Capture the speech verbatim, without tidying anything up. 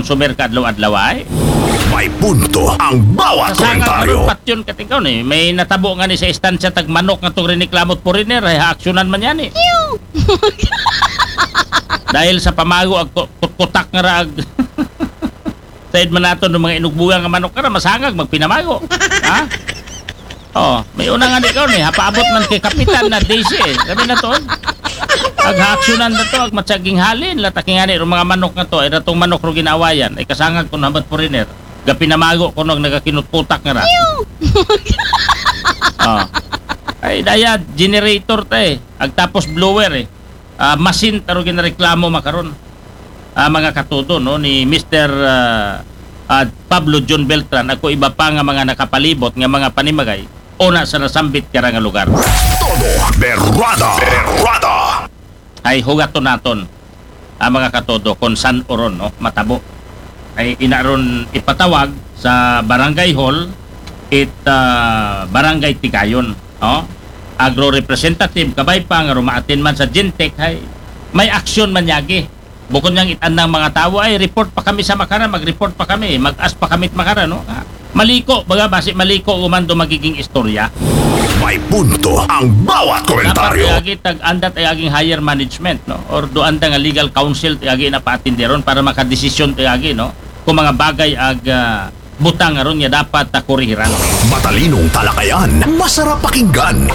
consumer ka adlaw-adlaw ay. May punto ang bawat Kasangag komentaryo. Patyon katingkaw ni. May natabo nga ni sa istansya tag manok nga tong riniklamo foreigner ay haaksyonan man yan eh. Dahil sa pamago ag ku- kutkutak nga raag. Said man nato ng mga inugbuga nga manok ka na masangag magpinamago. Ha? Oh, may una nga di ko ni hapaabot man kay kapitan na D C eh. Sabi na to. Ag haaksyonan na to, ag matsaging halin, lataking ani ro mga manok nga to, ay ratong manok ro ginawayan, ay kasangag ko nabat foreigner. Gapinamago ko nung nagakinutkutak nga ra. Oh. Ay, daya, generator ta eh. Ag tapos blower eh. Ah, masin taro ginareklamo makaron. Ah, mga katudo, no, ni Mister ah, ah, Pablo John Beltran, ako iba pa nga mga nakapalibot nga mga panimagay, una sa nasambit kara nga lugar. Todo berrada. Berrada. Ay hugaton naton ang mga katodo kung san oron no matabo. Ay inaron ipatawag sa barangay hall it ah, barangay Tigayon, no? Agro representative kabay pa nga rumaatin man sa Gentech ay may aksyon man yagi. Bukod niyang itandang mga tawo ay report pa kami sa makara, mag-report pa kami, mag-as pa kami makara, no? Ah, maliko, baga basi maliko umando magiging istorya. May punto ang bawat Dapat komentaryo. Agi tag andat ay aging higher management, no? Or do anda nga legal counsel ti agi na paatinderon para makadesisyon ti agi, no? Kung mga bagay ag ah, butang aron nga dapat ta kurihiran. Matalinong talakayan, masarap pakinggan.